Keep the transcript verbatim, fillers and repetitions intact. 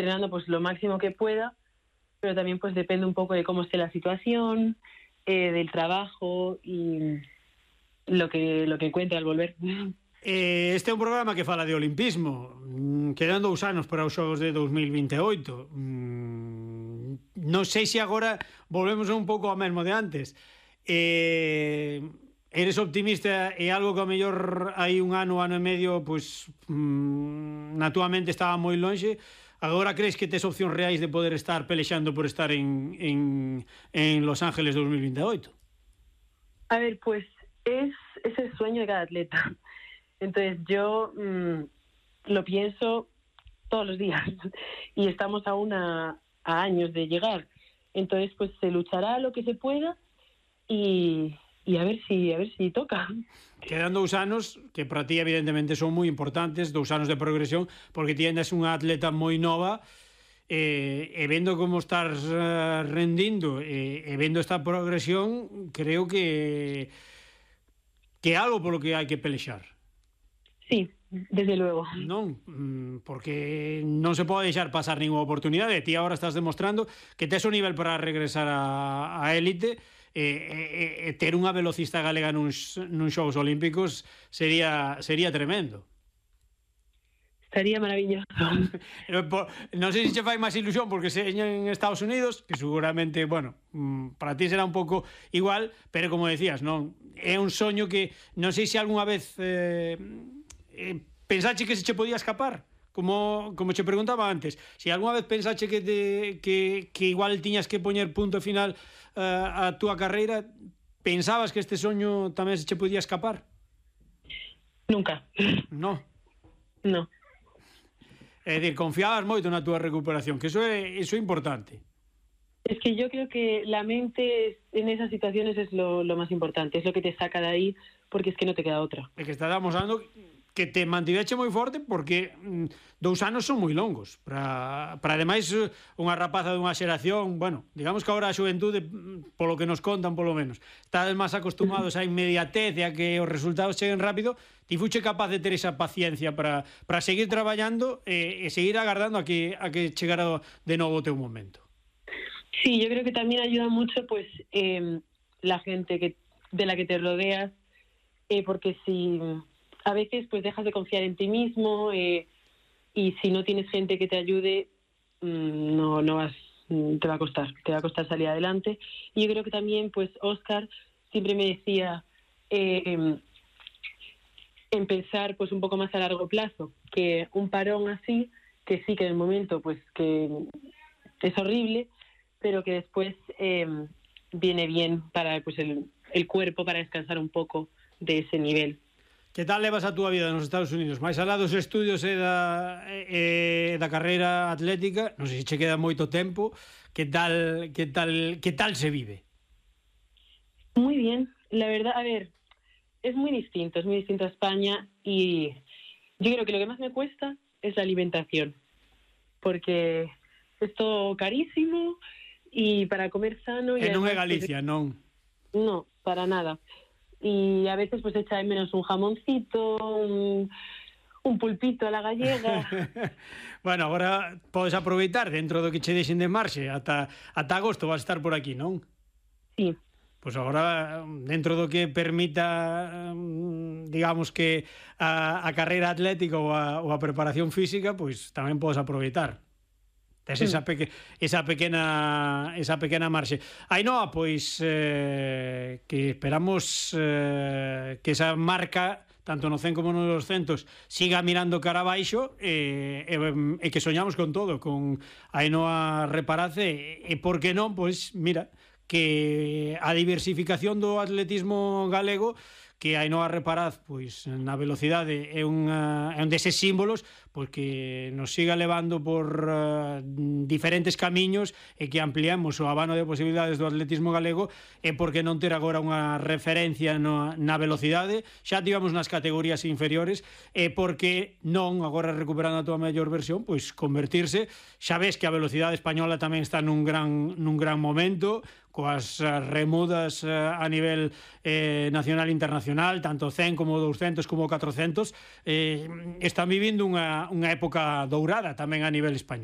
entrenando pues lo máximo que pueda, pero también pues depende un poco de cómo esté la situación, eh, del trabajo y lo que, lo que encuentre al volver. Este é un programa que fala de olimpismo. Quedan dous anos para os Xogos de dos mil vinte e oito. Non sei se agora volvemos un pouco ao mesmo de antes. Eh, eres optimista e algo que a mellor hai un ano, ano e medio, pois mmm, na túa mente estaba moi lonxe. Agora crees que tes opcións reais de poder estar pelexando por estar en, en, en Los Ángeles dos mil vinte e oito? A ver, pues es, es el sueño de cada atleta. Entonces yo mmm, lo pienso todos los días y estamos aún a, a años de llegar. Entonces pues se luchará lo que se pueda y, y a ver si a ver si toca. Quedan dous anos que para ti evidentemente son moi importantes, dous anos de progresión, porque ti eres unha atleta moi nova e, e vendo como estás uh, rendindo e, e vendo esta progresión, creo que que é algo polo que hai que pelexar. Sí, desde luego. Non, porque non se pode deixar pasar ninguna oportunidade. Ti agora estás demostrando que tes o nivel para regresar a, a élite e, e, e ter unha velocista galega nuns, nuns Xogos Olímpicos sería, sería tremendo. Estaría maravilloso. Non sei se che fai máis ilusión porque se en Estados Unidos, que seguramente, bueno, para ti será un pouco igual, pero como decías, non, é un soño que non sei se algunha vez eh, eh, pensache que se che podía escapar, como, como che preguntaba antes, se algunha vez pensache que, te, que, que igual tiñas que poñer punto final uh, a túa carreira, pensabas que este soño tamén se che podía escapar? Nunca. No. No. É dicir, confiabas moito na túa recuperación, que eso é, eso é importante. Es que yo creo que la mente en esas situaciones es lo, lo más importante, es lo que te saca de ahí, porque es que no te queda otra. É que estábamos dando que te mantiveche moi forte porque mm, dous anos son moi longos para, para ademais unha rapaza dunha xeración, bueno, digamos que agora a xuventude polo que nos contan polo menos estades máis acostumados á inmediatez e a que os resultados cheguen rápido. Ti fuche capaz de ter esa paciencia para, para seguir traballando e, e seguir agardando a que, a que chegara de novo o teu momento. Sí, yo creo que también ayuda mucho pues eh, la gente que, de la que te rodeas, eh, porque si a veces pues dejas de confiar en ti mismo eh, y si no tienes gente que te ayude, mmm, no, no vas, te va a costar, te va a costar salir adelante. Y yo creo que también pues Óscar siempre me decía eh, en pensar pues un poco más a largo plazo, que un parón así, que sí que en el momento pues que es horrible, pero que después eh, viene bien para pues el, el cuerpo, para descansar un poco de ese nivel. Que tal levas a túa vida nos Estados Unidos? Mais alá dos estudios e da, e, da carreira atlética, non sei se che queda moito tempo, que tal, que tal, que tal se vive? Muy bien, la verdad, a ver, es muy distinto, es muy distinto a España y yo creo que lo que más me cuesta es la alimentación, porque es todo carísimo y para comer sano... E non é Galicia, non? No, para nada. Y a veces pues echa de menos un jamoncito, un, un pulpito a la gallega. Bueno, agora podes aproveitar dentro do que che deixen de marxe ata, ata agosto vas a estar por aquí, non? Sí. Pois agora, dentro do que permita, digamos que a, a carreira atlética ou a, ou a preparación física, pois tamén podes aproveitar. Tes esa, peque, esa pequena esa pequena marxe. Ainhoa, pois eh, que esperamos eh, que esa marca tanto no cen como nos doscentos siga mirando cara abaixo e, e, e que soñamos con todo, con Ainhoa Reparace e, e por que non, pois mira, que a diversificación do atletismo galego, que Ainhoa Reparaz pois na velocidade é, unha, é un deses símbolos pois que nos siga levando por uh, diferentes camiños e que ampliemos o abano de posibilidades do atletismo galego e porque non ter agora unha referencia no, na velocidade, xa tivemos nas categorías inferiores e porque non, agora recuperando a túa mellor versión, pois convertirse, xa ves que a velocidade española tamén está nun gran, nun gran momento, coas remudas a nivel eh, nacional e internacional, tanto cen como doscentos como catrocentos, eh, están vivindo unha, unha época dourada tamén a nivel español.